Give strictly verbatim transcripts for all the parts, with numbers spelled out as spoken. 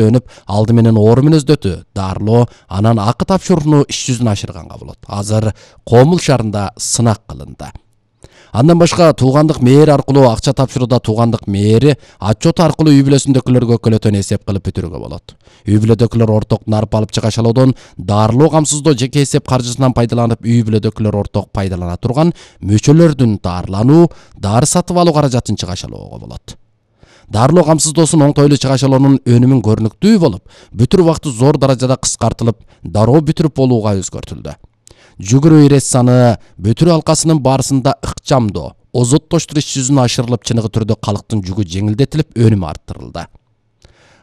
өнүп, алды менен оору мүнөздөтү, дарылоо, анан акы тапшырууну иш жүзүнө ашырганга болот. Азыр Комул шаарында сынак кылынды. Андан башка туугандык мээр аркылуу акча тапшырууда туугандык мээри отчет аркылуу үй бүлөсүндөгүлөргө өкөлөтөн эсеп кылып бүтүрүүгө болот. Үй бүлөдөгүлөр орток нарып алып чыгашалоодон дарылоо камсыздоо жеке эсеп каржысынан пайдаланып, үй бүлөдөгүлөр орток пайдалана турган мөчөлөрдүн дарылануу, дары сатып алуу каражатын чыгашалоого болот. Дарылоо камсыздоосун оңтойлуу чыгашалоонун өнүмүн көрүнүктүү болуп, бүтүрүү убакыты зор даражада кыскартылып, дароо бүтүрүп болууга өзгөртүлдү. Жүгүрүү ирес саны бүтүрүү алкасынын баарысында ыкчамдоо, озоттоштуруш иш жүзүнө ашырылып, чыныгы түрдө калктын жүгү жеңилдетилип, өнүмү арттырылды.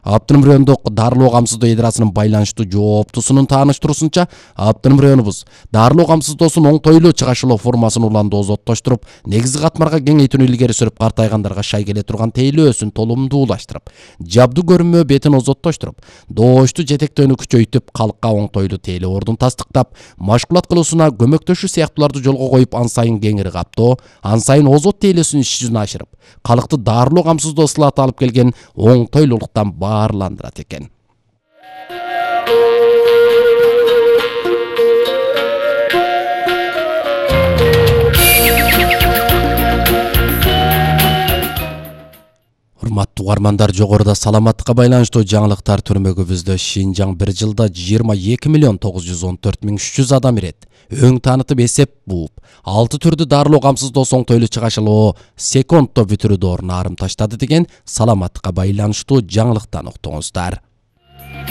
Аптырым райондук дарылоо камсыздоо идарасынын байланыштуу жооптусунун тааныштыруусунча, Аптырым районубуз дарылоо камсыздоосун оңтойлуу чыгашалоо формасын уланды озоттоштуруп, негизги катмарга кеңейтүүнү илгери сүрүп, картайгандарга шай келе турган тейлөөсүн толумдуулаштырып, жабдуу көрүнмө бетин озоттоштуруп, доошту жетектөөнү күчөйтүп, калкка оңтойлуу тейлөө ордун тастыктап, машгулат кылуусуна көмөктөшүү сыяктууларды жолго коюп, ан сайын кеңири каптоо, ан сайын озот тейлөөсүн иш жүзүнө ашырып, калкты дарылоо камсыздоо сылаты алып келген оңтойлуулуктан баарландырат экен. Урматтуу угармандар, жогоруда саламаттыкка байланыштуу жаңылыктар түрмөгүбүздө Шинжаң бир жылда жыйырма эки миллион тогуз жүз он төрт миң үч жүз адам ирет. Өң таанытып эсеп бууп, алты түрдүү дарылоо камсыздоосу оңтойлуу чыгашалоо секундто бүтүрүү доорун арым таштады деген саламаттыкка байланыштуу жаңылыктан уктуңуздар.